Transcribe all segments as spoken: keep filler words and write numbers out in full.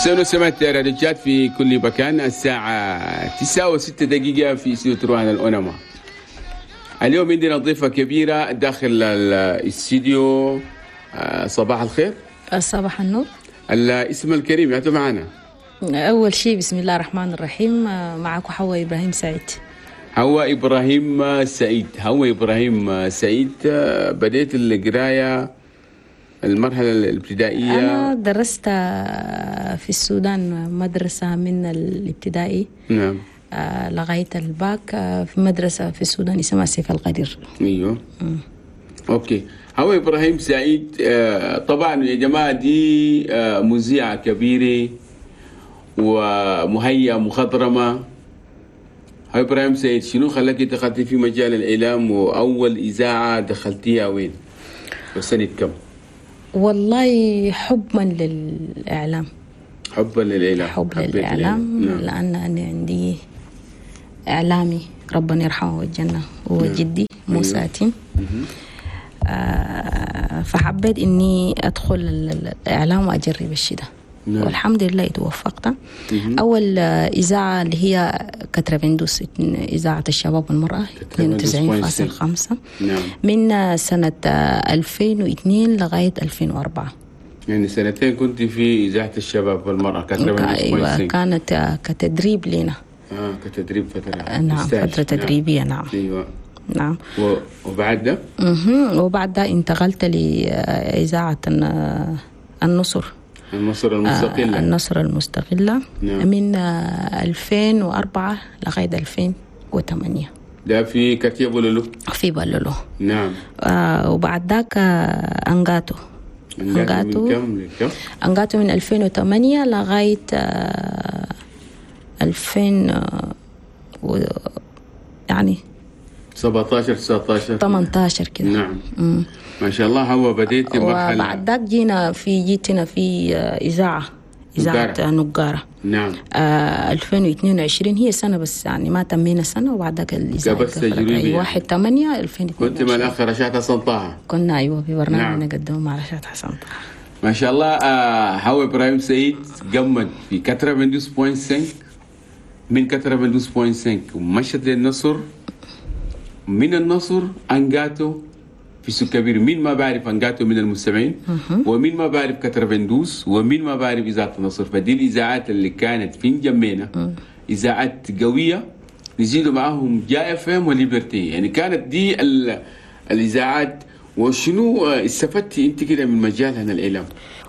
مستمعين ومستمعات راديو تشاد في كل مكان، الساعة تسعة وستة دقيقة في استوديو تروان الأونما. اليوم عندنا ضيفة كبيرة داخل الاستديو. صباح الخير. صباح النور. الاسم الكريم يا معنا. أول شيء بسم الله الرحمن الرحيم، معكم حواء إبراهيم سعيد. حواء إبراهيم سعيد، حواء إبراهيم سعيد. بديت القراية المرحلة الابتدائية؟ أنا درست في السودان مدرسة من الابتدائي، نعم، لغاية الباك في مدرسة في السودان اسمها سيف القدير. أيوه. م. okay. حواء إبراهيم سعيد، طبعا يا جماعة دي مذيعة كبيرة ومهيئة مخضرمة. حواء إبراهيم سعيد، شنو خلاك دخلتي في مجال الإعلام، وأول إذاعة دخلتيها وين وسنة كم؟ والله حبا للإعلام. حبا للإعلام. حب للإعلام. نعم. لأن أنا عندي إعلامي ربنا يرحمه والجنة، هو نعم. جدي موسى تيم. آه فحبيت إني أدخل الإعلام وأجرب الشيء ده. نعم. والحمد لله توفقت. أول إذاعة اللي هي كترفندوس، إذاعة الشباب والمرأة اثنين وتسعين فاصل خمسة. نعم. من سنة ألفين واثنين لغاية ألفين وأربعة. يعني سنتين كنت في إذاعة الشباب والمرأة كترفندوس. أيوة، كانت كتدريب لنا. آه كتدريب فترة. نعم، فترة تدريبية. نعم. أيوة. نعم. و... وبعد ده؟ اها وبعد ده انتقلت لإذاعة النصر. النصر المستقلة. النصر المستقلة. نعم. من ألفين وأربعة لغاية ألفين وثمانية. ده في quartier بولولو. في بولولو. نعم. آه وبعد ذاك أنغاتو. أنغاتو من كم لكم؟ أنغاتو من ألفين وثمانية لغاية آه ألفين و يعني سبعتاشر تسعتاشر ثمانتاشر كده. نعم. مم. ما شاء الله. هو بديت مرحلة. وبعد ذاك جينا في جيتنا في إذاعة إذاعة نقارة. نعم. آه ألفين واثنين وعشرين هي سنة بس، يعني ما تمينا سنة وبعد ذاك الإذاعة قفلت. واحد ثمانية ألفين واثنين وعشرين. كنت مع الأخ رشاد حسن طه. كنا أيوة في برنامج. نعم. نقدمه مع رشاد حسن طه. ما شاء الله. آه حواء إبراهيم سعيد قمت في كترفندوس بوينت خمسة، من كترفندوس بوينت خمسة ومشت للنصر، من النصر أنجاتو في سوق كبير. مين ما بعرف أنجاتو من المستمعين، ومين ما بعرف كترفندوس، ومين ما بعرف إذاعة النصر. فدي الإذاعات اللي كانت في جنبنا، إذاعات قوية نزيدوا معاهم جا اف ام وليبرتي. يعني كانت دي الإذاعات. وشنو استفدتي انت كده من مجال هنا الإعلام؟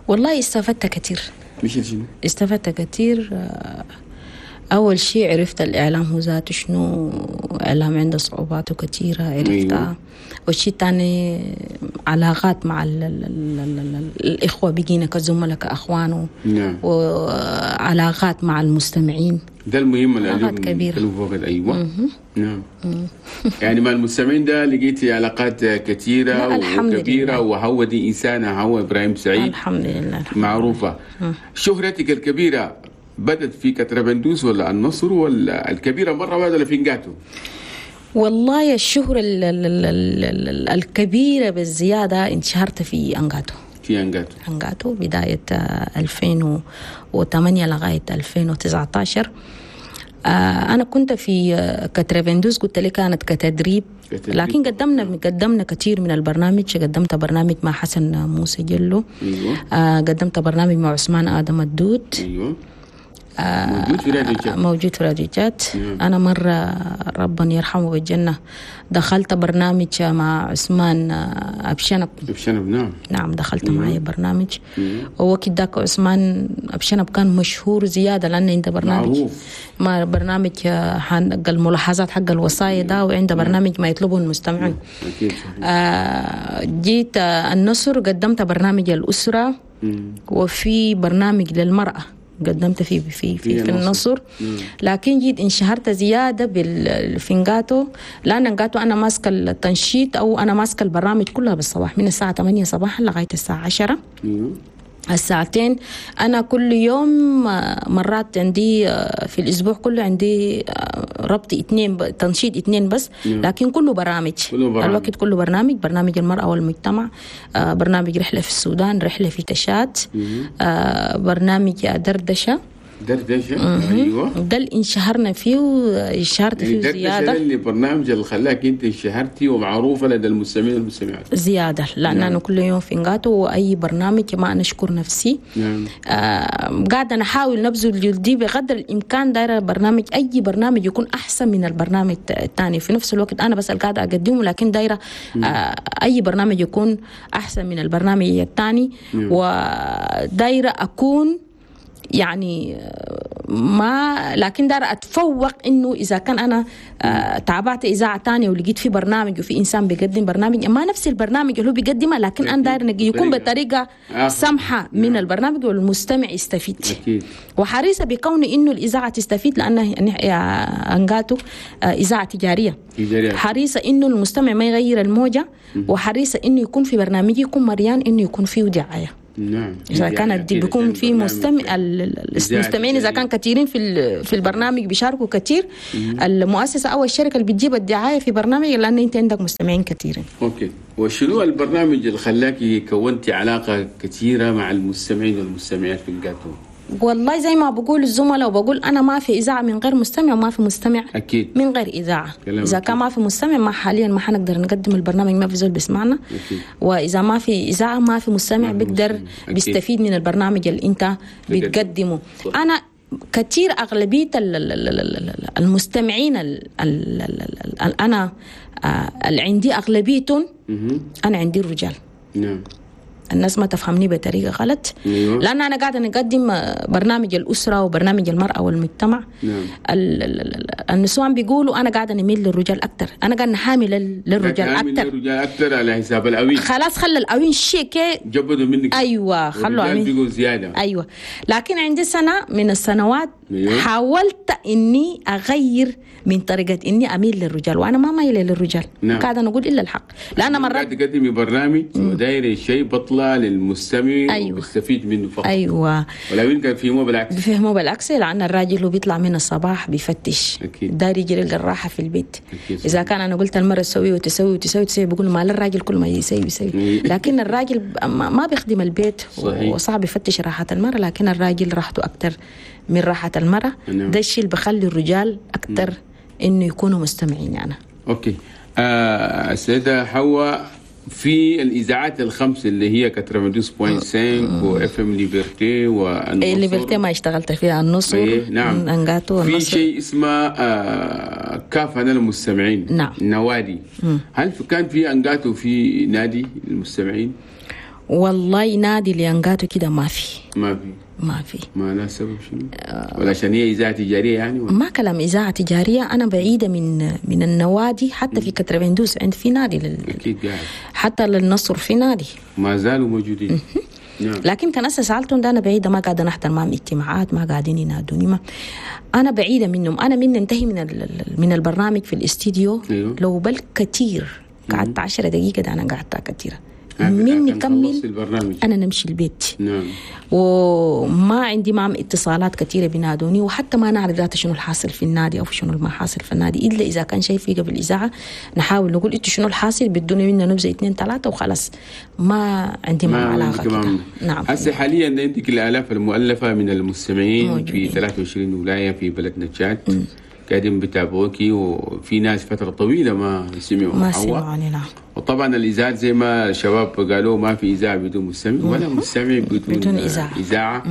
والله استفدت كثير. مش شنو؟ استفدت كثير. أول شيء عرفت الإعلام هو ذاته شنو، إعلام عنده صعوباته كثيرة عرفتها. أيوة. والشيء الثاني علاقات مع ال ال ال ال ال الإخوة، بقينا كزملاء كأخوان. نعم. وعلاقات مع المستمعين، ده المهم. علاقات كبيرة. أيوة. مم. نعم. مم. يعني مع المستمعين ده لقيتي علاقات كثيرة وكبيرة. وهو دي إنسانة هو إبراهيم سعيد الحمد لله، الحمد معروفة. مم. شهرتك الكبيرة بدت في كترفندوس ولا النصر ولا الكبيرة مرة واحدة ولا في نقاتو؟ والله الشهرة ال ال ال ال الكبيرة بالزيادة انشهرت في أنغاتو. في أنغاتو. أنغاتو بداية ألفين وثمانية لغاية ألفين وتسعتاشر. أنا كنت في كترفندوس، قلت لي كانت كتدريب، لكن قدمنا قدمنا كثير من البرنامج. قدمت برنامج مع حسن موسى جلو. أيوة. قدمت برنامج مع عثمان آدم الدود. أيوة. موجود في راديو جات. موجود في راديو جات. أنا مرة ربنا يرحمه بالجنة دخلت برنامج مع عثمان أبشنب. أبشنب. نعم. نعم، دخلت معي برنامج. ووقت ذاك عثمان أبشنب كان مشهور زيادة، لأن عنده برنامج معروف. ما برنامج حق الملاحظات حق الوصايا ده، وعنده برنامج ما يطلبه المستمعون. آه جيت النصر قدمت برنامج الأسرة. مم. وفي برنامج للمرأة قدمت في في في, في النصر. لكن جيت انشهرت زيادة بالفنجاتو، لان انجاتو انا ماسكه التنشيط او انا ماسكه البرامج كلها بالصباح من الساعة ثمانية صباحا لغاية الساعة عشرة. الساعتين انا كل يوم، مرات عندي في الاسبوع كله عندي ربط اثنين ب... تنشيط اثنين بس، لكن كله برامج، كله برامج. الوقت كله برنامج، برنامج المرأة والمجتمع، آه، برنامج رحلة في السودان، رحلة في تشاد، آه، برنامج دردشة. دردشة، ايوه، ده اللي انشهرنا فيه وانشهرت يعني فيه دردشة زيادة. اللي برنامج اللي خلاك انت انشهرتي ومعروفة لدى المستمعين والمستمعات زيادة، لأن نعم. أنا كل يوم في نقاطه وأي برنامج ما أنا أشكر نفسي. نعم. آه قاعدة نحاول نبذل جهدي بقدر الإمكان، دايرة برنامج، أي برنامج يكون أحسن من البرنامج الثاني. في نفس الوقت أنا بس قاعدة أقدمه، لكن دايرة آه أي برنامج يكون أحسن من البرنامج الثاني. ودايرة أكون يعني ما، لكن دار اتفوق انه اذا كان انا آه تابعت اذاعة ثانية ولقيت في برنامج وفي انسان بيقدم برنامج ما نفس البرنامج اللي هو بيقدمه، لكن انا داير يكون بطريقة سمحه من البرنامج والمستمع يستفيد. أكيد. وحريصه بكون انه الاذاعة تستفيد، لانها انقاتو اذاعة تجارية. تجارية. حريصة انه المستمع ما يغير الموجه، وحريصه انه يكون في برنامج يكون مريان انه يكون فيه دعاية. نعم. إذا كانت بيكون في مستمع، المستمعين إذا كان كثيرين في في البرنامج بيشاركوا كثير، المؤسسة أو الشركة اللي بتجيب الدعاية في برنامج، لأن أنت عندك مستمعين كثيرين. okay، وشنو البرنامج اللي خلاكي كونتي علاقة كثيرة مع المستمعين والمستمعات في نقاطو؟ والله زي ما بقول الزملاء وبقول أنا، ما في إذاعة من غير مستمع، وما في مستمع أكيد من غير إذاعة. إذا كان ما في مستمع، ما حاليا ما حنقدر نقدم البرنامج، ما في زول بيسمعنا. أكيد. وإذا ما في إذاعة ما في مستمع بيقدر بيستفيد من البرنامج اللي أنت بتقدمه. صح. أنا كثير أغلبية المستمعين ال ال ال أنا اللي عندي أغلبيتهم أنا عندي الرجال. نعم. الناس ما تفهمني بطريقة غلط. أيوة. لأن أنا قاعدة نقدم برنامج الأسرة وبرنامج المرأة والمجتمع. نعم. ال ال النسوان بيقولوا أنا قاعدة نميل للرجال أكتر، أنا قاعدة نحامي للرجال أكتر، للرجال أكتر على حساب الأوين. خلاص خلى الأوين شيء كي جبدوا منك. أيوة، خلوا أوين بيقوا زيادة. أيوة، لكن عندي سنة من السنوات أيوة. حاولت إني أغير من طريقة إني أميل للرجال، وأنا ما مايلة للرجال. نعم. قاعدة نقول إلا الحق، لأن مرات تقدمي برنامج وداير شيء بطلع للمستمع. أيوة. وبيستفيد منه فقط. أيوة. ولو كان فهموه بالعكس، بفهموه بالعكس، لأن الراجل هو بيطلع من الصباح بيفتش. أكيد. داير يجري الراحة في البيت. أكيد. إذا كان أنا قلت المرة تسوي وتسوي وتسوي وتسوي، بيقول ما للراجل كل ما يسوي يسوي. لكن الراجل ما بيخدم البيت. صحيح. وصعب يفتش راحة المرة، لكن الراجل راحته أكتر من راحة المرأة. نعم. ده الشيء اللي بخلي الرجال أكتر إنه يكونوا مستمعين يعني. okay. آه السيدة حواء، في الإذاعات الخمس اللي هي تسعة وتسعين فاصلة خمسة و FM Liberté والنصر. Liberté ما اشتغلت فيها، النصر. إيه نعم. انقاتو في شيء اسمه آه كافة للمستمعين. نعم. نوادي. مم. هل كان في انقاتو في نادي للمستمعين؟ والله نادي لانقاتو كده ما في. ما في. ما في. ما لا سبب شنو؟ ولا عشان هي إذاعة تجارية يعني؟ ولا؟ ما كلام إذاعة تجارية، أنا بعيدة من من النوادي. حتى في كتربندوس عند في نادي لل... أكيد قاعد. حتى للنصر في نادي. ما زالوا موجودين. نعم. لكن كان أسا سألتهم ده أنا بعيدة، ما قاعدة نحضر معهم اجتماعات، ما قاعدين ينادوني، ما أنا بعيدة منهم. أنا من انتهي من ال... من البرنامج في الاستديو. أيوه. لو بل كتير قعدت عشرة دقيقة ده أنا قعدتها كتيرة. من نكمل أنا نمشي البيت. نعم. وما عندي معهم اتصالات كثيرة بينادوني، وحتى ما نعرف ذاته شنو الحاصل في النادي أو شنو ما حاصل في النادي، إلا إذا كان شيء في قبل الإذاعة نحاول نقول إنتوا شنو الحاصل، بدوني منا نبذة اثنين ثلاثة وخلاص. ما عندي معهم علاقة كده. نعم. هسه حاليا عندك الآلاف المؤلفة من المستمعين موجودين في ثلاثة وعشرين ولاية في بلدنا تشاد. قاعدين بتابعوكي، وفي ناس فترة طويلة ما سمعوا ما سمعوني. نعم. وطبعا الإذاعة زي ما الشباب قالوا ما في إذاعة بدون مستمع ولا مستمع بدون, بدون إذاعة. إذاعة.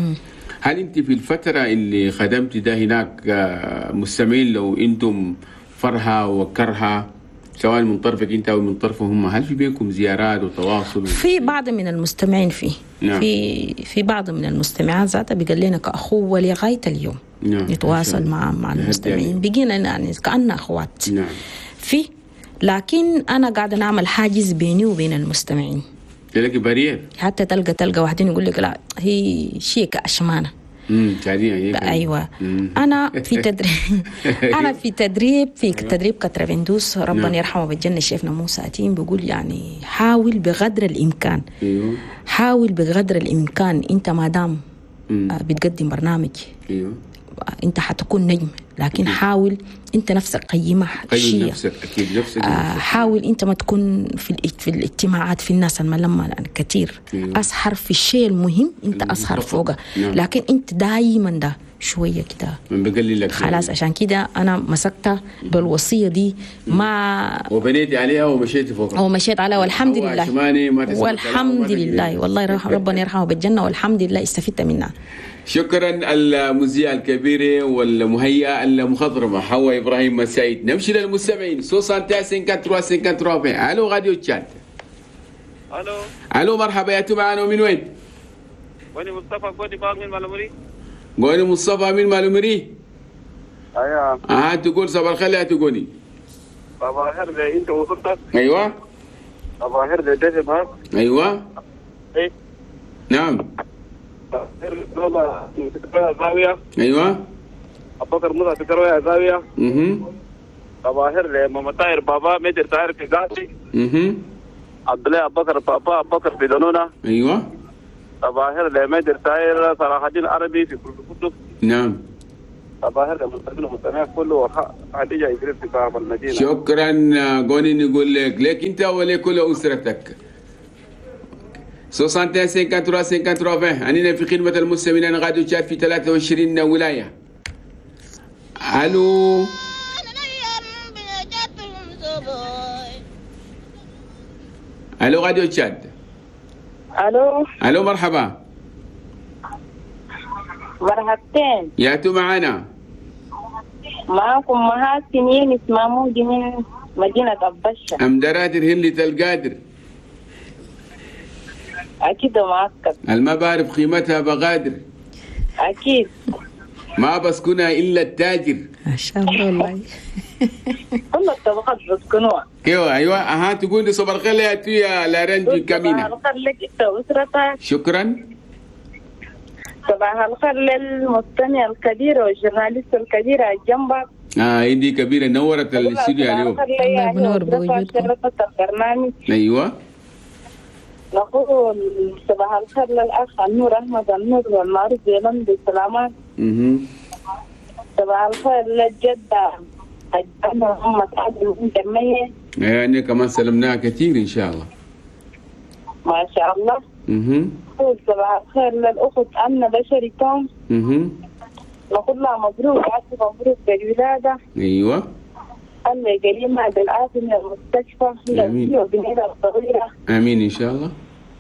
هل أنت في الفترة اللي خدمتي ده هناك مستمعين لو أنتم فرحة وكرهة سواء من طرفك أنت أو من طرفهم، هل في بينكم زيارات وتواصل؟ في بعض من المستمعين فيه. نعم. في في بعض من المستمعات ذاتها بيقال لنا كأخوة لغاية اليوم. نعم. نتواصل مع مع المستمعين، بقينا يعني كأننا أخوات. نعم. في، لكن أنا قاعدة نعمل حاجز بيني وبين المستمعين. تلاقي barrière. حتى تلقى تلقى واحدين يقول لك لا هي شيء كأشمانة. امم تعدين. ايوه. مم. انا في تدريب انا في تدريب في تدريب كتربندوس، ربنا نعم. يرحمه بالجنة، شيخنا موسى أتيم بيقول يعني حاول بقدر الامكان. ايوه. حاول بقدر الامكان انت ما دام بتقدم برنامج. ايوه. انت حتكون نجم، لكن حاول انت نفسك قيمها. قيم نفسك اكيد نفسك. آه حاول انت ما تكون في في الاجتماعات في الناس الملمه لان كثير. أيوة. اسهر في الشيء المهم انت اسهر فوقه. نعم. لكن انت دائما ده شوية كده من بقلل لك خلاص. عشان كده انا مسكتها بالوصية دي ما وبنيت عليها ومشيت فوقها ومشيت عليها والحمد لله والحمد لله والله ربنا يرحمه بالجنة والحمد لله استفدت منها. شكرا المذيعة الكبيرة والمهيئة المخضرمة حواء إبراهيم سعيد. نمشي للمستمعين ستة وتسعين ثلاثة وثلاثين. ألو راديو تشاد. ألو ألو مرحبا، يا معنا من وين؟ قولي مصطفى قولي باغ من مالومري. قولي مصطفى من مالومري. أيوه. أه تقول صباح الخير يا تقولي. صباح الخير أنت وصلتك. أيوه. صباح الخير ديزي باغ. أيوه. إيه. نعم. زاوية. ايوه. ابو بكر موسى تروي زاوية. اها. صباحر لماما طاهر بابا مدير طاهر في ذاتي. اها. عبد الله ابو بكر بابا ابو بكر في دنونة. ايوه. صباحر لمدير طاهر صلاح الدين العربي في كل القدس. نعم. صباحر للمستمعين والمستمعات كله خديجة إدريس في باب المدينة. شكرا قولي نقول لك لك انت ولكل اسرتك. ستة وستين ثلاثة وخمسين ثلاثة وعشرين. أننا في خدمة المستمعين راديو تشاد في ثلاثة وعشرين ولاية. ألو ألو راديو تشاد. ألو ألو مرحبا. مرحبتين. ياتوا معنا. معكم محاسن يونس محمود من مدينة أبشة. أم درادر هلة القادر. أكيد معسكر. الما بعرف قيمتها بغادر. أكيد. ما بسكنها إلا التاجر. ما شاء الله والله. كل الطبقات بسكنوها. ايوه ايوه اها تقول لي صباح الخير يا يا لارنجي كامينا. صباح الخير لك انت واسرتك. شكرا. صباح الخير للمستمع الكبير وال journaliste الكبيرة جنبك. اه ايدي كبيرة نورت الاستوديو اليوم. الله ينور بوجودكم. شرفت البرنامج. ايوه. نقول صباح الخير للأخ النور أحمد النور والمعروف بلند السلامات. اها. صباح الخير للجدة الجدة محمد عادل من جمية. يعني كمان سلمناها كثير إن شاء الله. ما شاء الله. اها. نقول صباح الخير للأخت أمنة بشري توم. اها. نقول لها مبروك عسى مبروك بالولادة. ايوه. الله يقيمها بالعافية من المستشفى. آمين. وبنيتها الصغيرة. آمين إن شاء الله.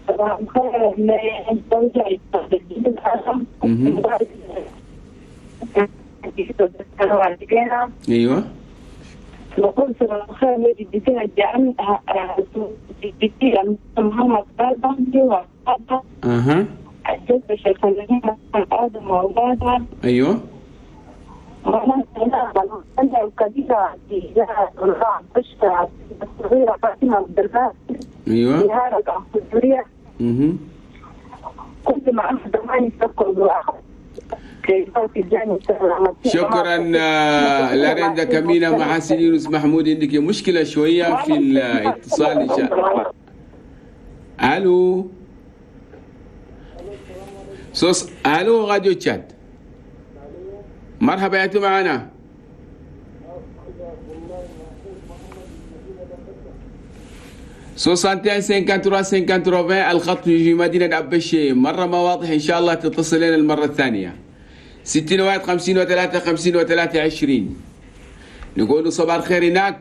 صباح الخير للزوجة مهم. ايوه. نقول صباح الخير لجدتنا الجامعة جدتي محمد آدم وأولادها. اها. الجدة الشيخ آدم وأولادها. ايوه. الكبيرة الصغيرة فاطمة عبد الباسط. ايوه. نهارك السورية. اها. كنت مع أحد ما يفكر. شكرا لارندا كامينا محاسن يونس محمود. عندك مشكلة شوية في الاتصال إن شاء الله. ألو سوس ألو راديو تشاد. مرحبا يا معنا. ستة وستين ثلاثة وخمسين ثلاثة الخط في مدينة أبشي مرة ما واضح، إن شاء الله تتصل لنا المرة الثانية. ستين واحد خمسين وثلاثة خمسين وثلاثة عشرين. نقول صباح الخير هناك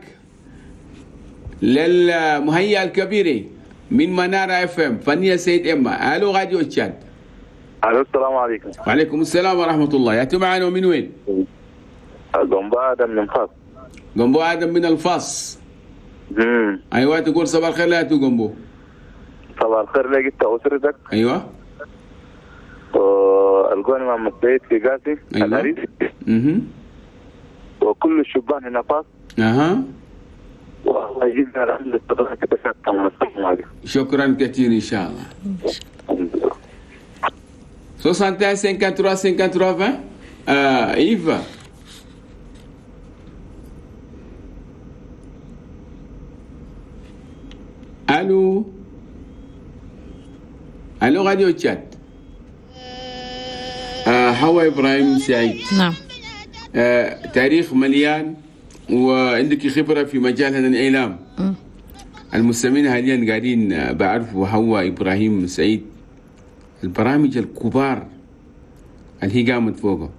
للمهيئة الكبيرة من منارة اف ام فنية سيد إما. ألو راديو تشاد. ألو السلام عليكم. وعليكم السلام ورحمة الله. يا معنا من وين؟ جنبو آدم من الفاس. جنبو آدم من الفاس. امم ايوه تقول صباح الخير لا تجنبو. صباح الخير لك انت واسرتك. ايوه. القوني محمد سيد في قاسي. أيوة. العريس. اها. وكل الشبان هنا فاس. اها. والله يجزينا الحمد لله. شكرا كثير ان شاء الله. ستة وستين ثلاثة وخمسين ثلاثة وعشرين. آه ايفا. الو الو راديو تشاد. آه حواء ابراهيم سعيد. نعم. آه تاريخ مليان وعندك خبره في مجال هذا الاعلام. المستمعين حاليا قاعدين بعرفوا حواء ابراهيم سعيد، البرامج الكبار اللي هي قامت فوقه،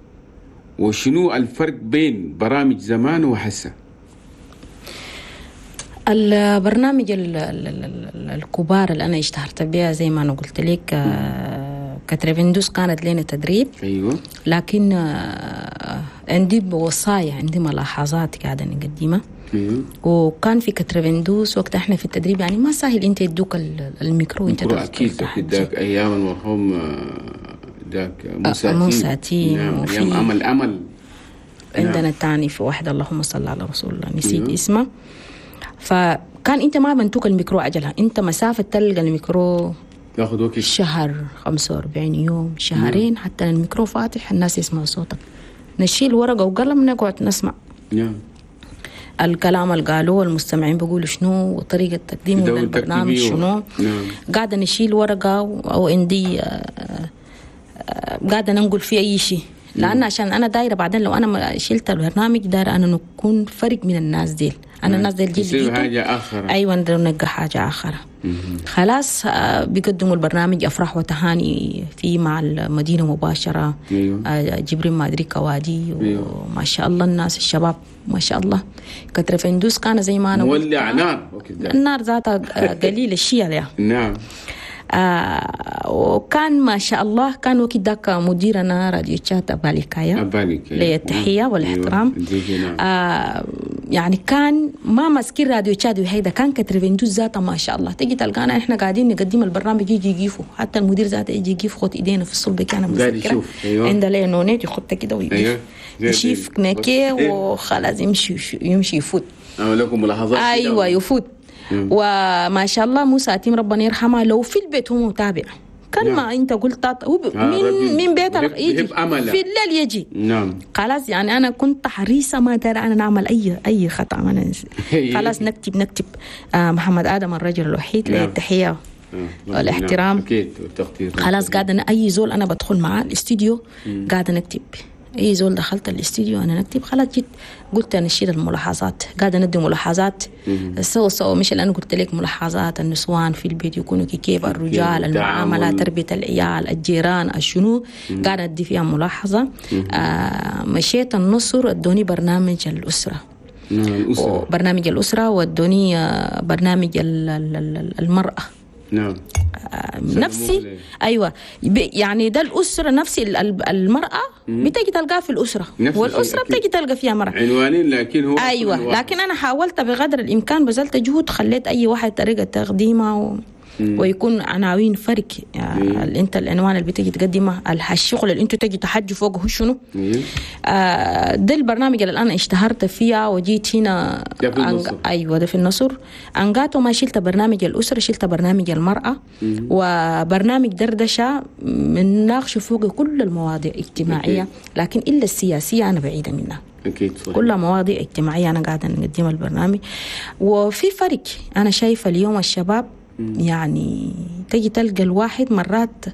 وشنو الفرق بين برامج زمان وحسه؟ البرنامج ال ال ال الكبار اللي انا اشتهرت بها زي ما انا قلت لك، آه، quatre-vingt-douze كانت لنا تدريب. ايوه. لكن آه، عندي وصايا، عندي ملاحظات قاعدة نقدمها. ايوه. وكان في quatre-vingt-douze وقت احنا في التدريب، يعني ما سهل انت يدوك ال- الميكرو انت ميكرو تدخل اكيد اكيد. تحجي. ذاك ايام المرحوم آه، ذاك موسى آه، موسى تيم، نعم، وفي- ايام امل امل. عندنا تاني في واحدة، اللهم صل على رسول الله، نسيت أيوه. اسمه. فكان انت ما بنتوك الميكرو عجلها، انت مسافة تلقى الميكرو تاخذ وقت. شهر، خمسة وأربعين يوم، شهرين، حتى الميكرو فاتح الناس يسمعوا صوتك. نشيل ورقة وقلم نقعد نسمع نعم الكلام اللي قالوه المستمعين، بيقولوا شنو، وطريقة تقديمه دور للبرنامج تكتيبي و- شنو. نعم. قاعدة نشيل ورقة أو عندي آه، آه، قاعدة ننقل فيه أي شيء، لأن عشان أنا دايرة بعدين لو أنا ما شلت البرنامج دايرة أنا نكون فرق من الناس ديل. أنا الناس ديل جيل يصير لقيته. حاجة اخرى. ايوه، نلقى حاجة اخرى. خلاص، آه، بيقدموا البرنامج افراح وتهاني في مع المدينة مباشره. أيوة. آه، جبرين ما ادري كوادي. أيوة. وما شاء الله الناس الشباب ما شاء الله. quatre-vingt-douze كان زي ما انا قلت مولع نار وقت ذاك. النار ذاتها آه، قليل الشيء عليها. نعم آه وكان ما شاء الله كان وقت ذاك مديرنا راديو تشاد أباليكايا. أباليكايا. ليه التحية والاحترام. أيوة. نعم. آه يعني كان ما ماسكين راديو تشاد وهيدا كان quatre-vingt-douze ذاته ما شاء الله. تجي تلقانا احنا قاعدين نقدم البرنامج، يجي يقيفوا، حتى المدير ذاته يجي يقيف، خد ايدينا في الصلب كان قاعد متذكرة. يشوف. أيوة. عنده ليه نونيت يخط كده ويقيف. أيوة. زي يشيف دي. نكي إيه. وخلاص يمشي يمشي يفوت. عمل لكم ملاحظات كده. ايوه، يفوت. وما شاء الله موسى أتيم ربنا يرحمه، لو في البيت هو متابع كان نعم. ما انت قلت هو ب- آه، من رجل من بيت بيحب- يجي بيحب أمله. في الليل يجي. نعم خلاص، يعني انا كنت حريصة ما ترى انا نعمل اي اي خطا انا خلاص نكتب نكتب آه محمد ادم الرجل الوحيد له نعم. التحية آه، والاحترام. نعم. اكيد والتقدير. خلاص، قاعدة أنا اي زول انا بدخل معاه الاستديو قاعدة نكتب، اي زول دخلت الاستديو انا نكتب. خلاص، جيت قلت انا اشيل الملاحظات، قاعدة ندي ملاحظات سو سو مش اللي انا قلت لك، ملاحظات النسوان في البيت يكونوا كيف، الرجال، المعامله، التعامل. تربيه العيال، الجيران، الشنو، قاعدة ادي فيها ملاحظه. آه مشيت النصر ادوني برنامج الاسره. نعم، الاسره. برنامج الاسرة وادوني آه، برنامج ال- ال- ال- المراة. نعم نفسي ليه. ايوه، ب- يعني ده الاسرة نفس ال- ال- المراة بتجي تلقاها في الاسرة نفس الشيء، والاسرة أكيد. بتجي تلقى فيها مراة. عنوانين لكن هو ايوه كل واحد. لكن انا حاولت بقدر الامكان، بذلت جهود، خليت اي واحد طريقه تقديمها و... ويكون عناوين فرق يعني اللي انت العنوان اللي بتجي تقدمه، الح- الشغل اللي انت تجي تحجي فوقه هو شنو. إيه. آه ده البرنامج اللي انا اشتهرت فيها وجيت هنا. ده في النصر. أنج... ايوه، ده في النصر. انقاتو ما شلت برنامج الاسره، شلت برنامج المراة وبرنامج دردشه، بنناقش فوق كل المواضيع الاجتماعيه. أكيد. لكن الا السياسية انا بعيدة منها. اكيد صحيح. كلها مواضيع اجتماعية أنا قاعدة نقدم البرنامج. وفي فرق أنا شايفة اليوم الشباب، يعني تجي تلقى الواحد مرات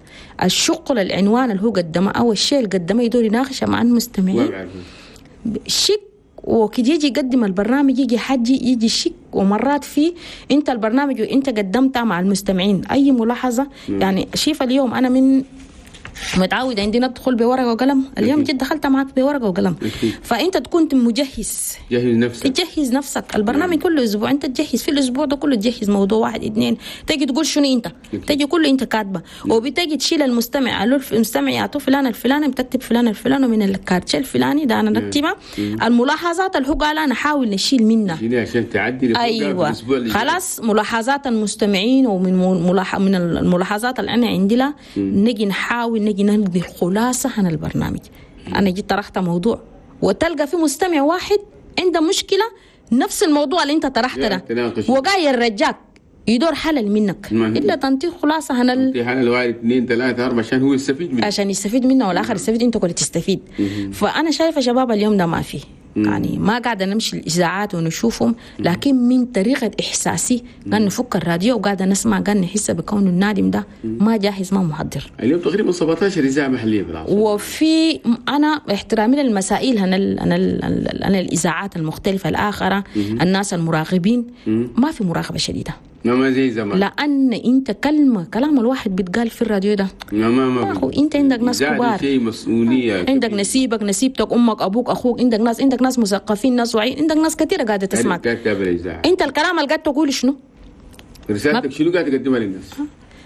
الشغل العنوان اللي هو قدمه أو الشيء اللي قدمه يدور يناقشه مع ما المستمعين بعرف. شك، وكده يجي يقدم البرنامج يجي حجي يجي شك. ومرات في انت البرنامج وانت قدمتها مع المستمعين اي ملاحظة. يعني شايفه اليوم انا من متعود عندي ندخل بورقه وقلم، اليوم أكيد. جد دخلت معك بورقه وقلم. أكيد. فانت تكون مجهز. جهز نفسك. تجهز نفسك، البرنامج كل اسبوع انت تجهز، في الاسبوع ده كله تجهز موضوع واحد اثنين، تجي تقول شنو انت. أكيد. تجي كله انت كاتبه، وبتجي تشيل المستمع، قالوا المستمع يعطوه فلان الفلاني، بتكتب فلان الفلاني ومن ال quartier الفلاني ده انا نكتبها، الملاحظات اللي هو قالها نحاول نشيل منها. شيلي عشان تعدي لفوقها في ايوه الاسبوع اللي جاي. خلاص، ملاحظات المستمعين ومن ملاح... من الملاحظات اللي انا عندي لها نجي نحاول نجي نلقي الخلاصة عن البرنامج. انا جيت طرحت موضوع وتلقى في مستمع واحد عنده مشكلة نفس الموضوع اللي انت طرحته ده تناقش. وجاي الرجاك يدور حلل منك. ما هي. الا تنطيه خلاصه عن ال... في حال الواحد اثنين ثلاثة أربعة عشان هو يستفيد منه. عشان يستفيد منه والاخر يستفيد، انت كنت تستفيد. فانا شايفه شباب اليوم ده ما فيه. يعني ما قاعدة نمشي الاذاعات ونشوفهم، لكن من طريقه احساسي قاعد نفك الراديو وقاعدة نسمع، قاعد نحس بكون النادم ده ما جاهز ما محضر. اليوم تقريبا سبعة عشر اذاعة محليه بالعاصمة. وفي انا احترامي للمسائل انا انا انا الاذاعات المختلفة الاخرى، الناس المراقبين ما في مراقبة شديدة. ما زي زمان، لان انت كلمة كلام الواحد بيتقال في الراديو ده ما ما ما أخو انت عندك ناس كبار، شيء مسؤولية، عندك نسيبك نسيبتك امك ابوك اخوك، عندك ناس عندك ناس مثقفين ناس واعيين، عندك ناس كثيرة قاعدة تسمعك. انت الكلام اللي قاعد تقوله شنو؟ رسالتك شنو قاعد تقدمها للناس؟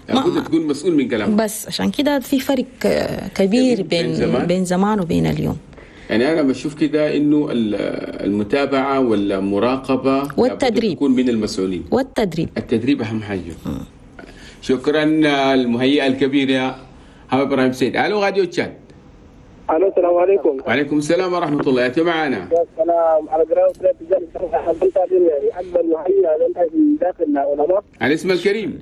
لابد تكون مسؤول من كلامك. بس عشان كده في فرق كبير بين بين زمان, بين زمان وبين اليوم. يعني أنا بشوف كده إنه المتابعة والمراقبة والتدريب تكون من المسؤولين، والتدريب التدريب أهم حاجة. م. شكرا المهيئة الكبيرة حوا إبراهيم سيد. ألو راديو تشاد. ألو السلام عليكم. وعليكم السلام ورحمة الله. أنت معنا؟ يا سلام على قراءة أكبر مهيئة من داخل العلماء. الاسم الكريم؟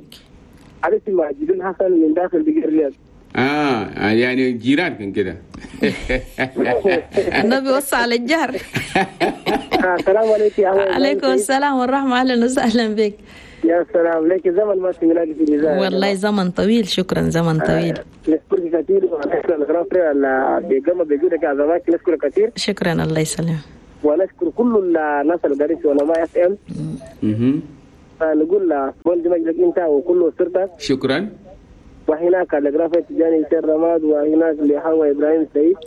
الاسم ماجد حسن من داخل بقير الرياض. اه يعني جيران كان كده. النبي وصى على الجار. السلام عليكم. عليكم السلام والرحمة، اهلا وسهلا بك. يا سلام لك زمن ما سمعناك في الإذاعة. والله زمن طويل، شكرا زمن طويل. نشكرك كثير ونشكر الغرافة اللي بيقوم بجودك يا زماك، نشكرك كثير. شكرا الله يسلمك. ونشكر كل الناس اللي قاعدين في علماء اف ام. فنقول بولد مجدك انت وكل اسرتك. شكرا. وهناك لغرافة تجاني سير رماد، وهناك لحوا إبراهيم سعيد،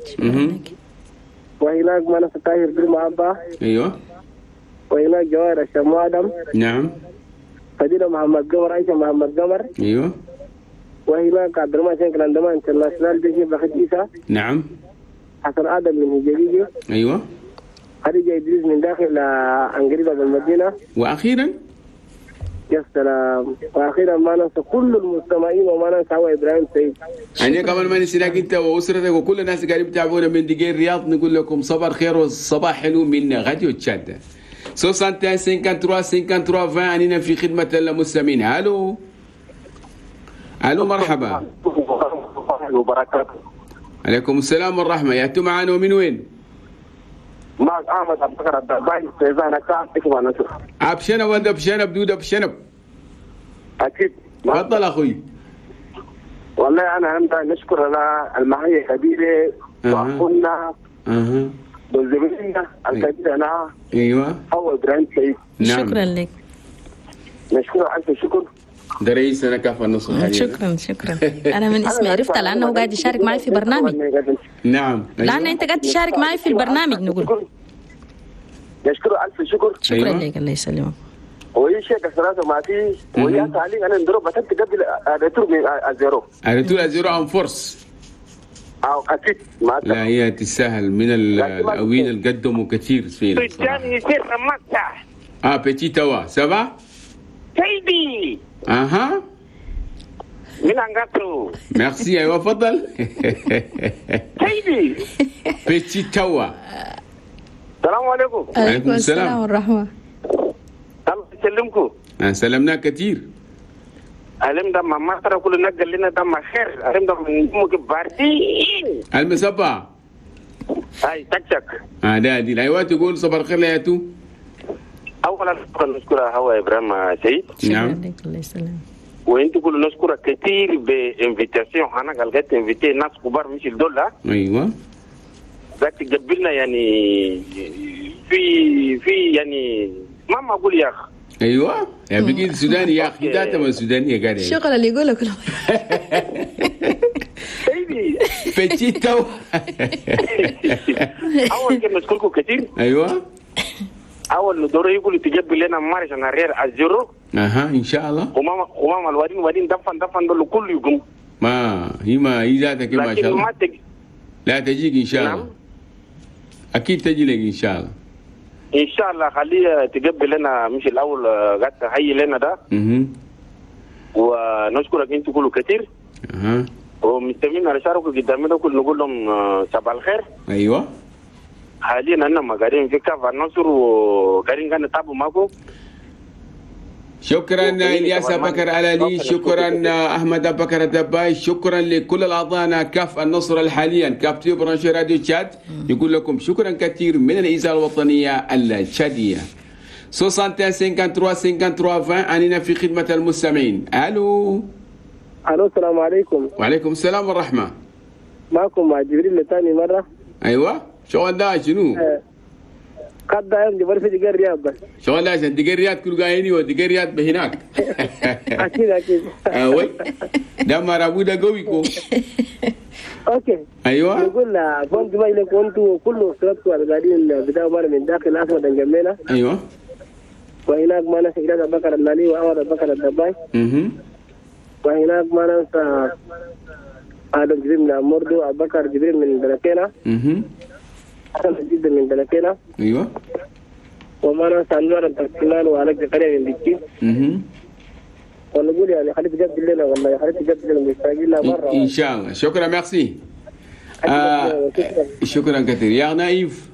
وهناك منصة طاهر بالمعبة، أيوة، وهناك جوار الشمو آدم، نعم، فضيلة محمد قمر، عائشة محمد قمر، أيوة، وهناك عبد الرحمن شنكل عندما انترناشونال جيش بخت إيسا، نعم، حسن آدم من هجريجي، أيوة، خديجة إدريس من داخل أنجريبا بالمدينة، وأخيرا يا سلام، واخيرا ما ننسى كل المستمعين وما ننسى هو ابراهيم سعيد. يعني كمان ما نسيناك انت واسرتك وكل الناس اللي قاعدين يتابعونا من دقيق الرياض، نقول لكم صباح الخير والصباح حلو من راديو تشاد. واحد وستين ثلاثة وخمسين ثلاثة وعشرين اننا في خدمة المستمعين. الو الو مرحبا. وبركاته. عليكم السلام والرحمة، يا انتم معانا ومن وين؟ معك احمد عبد البكر عبد الباقي. ابشنب ولا بشنب دود بشنب؟ اكيد. تفضل اخوي. والله انا عندي نشكر على المعية الكبيرة واخونا اها وزميلنا الكبير انا، ايوه، هو ابراهيم سعيد. نعم. شكرا لك. نشكره الف شكر. ده رئيسنا كاف النصر حاليا. شكرا شكرا. انا من اسمي عرفت لانه قاعد يشارك معي في برنامج. نعم. لان انت قاعد تشارك معي في البرنامج نقول. نشكره الف شكر. شكرا أيوة. لك الله يسلمك. وهي شيء كسراته ما في وهي تعليق انا نضرب بتنت قبل retour à zéro. retour à zéro en force. او اكيد ما لا هي تستاهل من الاوين اللي قدموا كثير فينا. اه petit توا ça va سيدي. اها من انغاتو. ميرسي. ايوه تفضل. سيدي petit توا. السلام عليكم. عليكم السلام والرحمة. الله يسلمكم. سلمنا كثير. علم ده ما ترى كل نقل لنا ده ما خير، علم ده ممكن باردين. المسبع. هاي تك تك. اه ده دي ايوه تقول صباح الخير يا تو. اولا نشكر هو ابراهيم سيد. نعم. الله يسلمك. وانت كل نشكرك كثير ب invitation، انا قلت invité ناس كبار مش الدولة. ايوه. ذاك تقبلنا يعني في في يعني ما ما اقول يا اخي. ايوه يعني بقيت سوداني يا اخي، ذاته من السودانية قاعد الشغل اللي يقوله كله. سيدي petit تو. اول كلمة نشكركم كثير. ايوه. اول دور يقول تجيب لنا marche en arrière à zéro. اها ان شاء الله. وماما وماما الوادين وادين دفن دفن دول كل يقوم. ما هي ما هي ذاتك ما شاء الله. تج... لا تجيك ان شاء الله. نعم. اكيد تجي لك ان شاء الله. ان شاء الله خليه تقبل لنا مش الاول قاعد تحيي لنا ده. اها. ونشكرك انتوا كله كثير. اها. ومستمعين على شاركوا قدامنا كل نقول لهم صباح الخير. ايوه. حاليا انا ما قاعدين في كاف النصر وقاعدين كان نتابعوا معكم. شكرا الياس بكر علالي، شكرا احمد بكر الدباي، شكرا لكل الاعضاء كاف النصر حاليا كاف تيو branché راديو تشاد يقول لكم شكرا كثير من الاذاعة الوطنية التشاديه. واحد وستين ثلاثة وخمسين ثلاثة وخمسين عشرين، اننا في خدمة المستمعين. الو. الو، السلام عليكم. وعليكم السلام والرحمة. معكم مع جبريل لثاني مرة. ايوه، شغل ده شنو؟ قد دايم جبر في دقيقة الرياض بس. شغل ده عشان دقيقة الرياض كل قايني ودقيقة الرياض بهناك. اكيد اكيد. آه oui، ده مرابو ده قوي كو. OK. ايوه. نقول bon dimanche لكم انتم وكل اسرتكم القاعدين بداوا معنا من داخل عاصمة انجمينا. ايوه. وهناك ما ننسى إلياس أبو بكر اللالي وأحمد أبو بكر الدباي. اها. وهناك ما ننسى آدم جبريل من مردو، أبو بكر جبريل من بلكينا. اها. حسن جدا من بلكينا. ايوه. وما ننسى أنوار التركمان وعلي زكريا من بكي. اها. ونقول يعني خليك تجدد لنا، والله خليك تجدد لنا، مشتاقين لها مرة. ان شاء الله، شكرا، ميرسي، آه شكرا كثير يا نايف.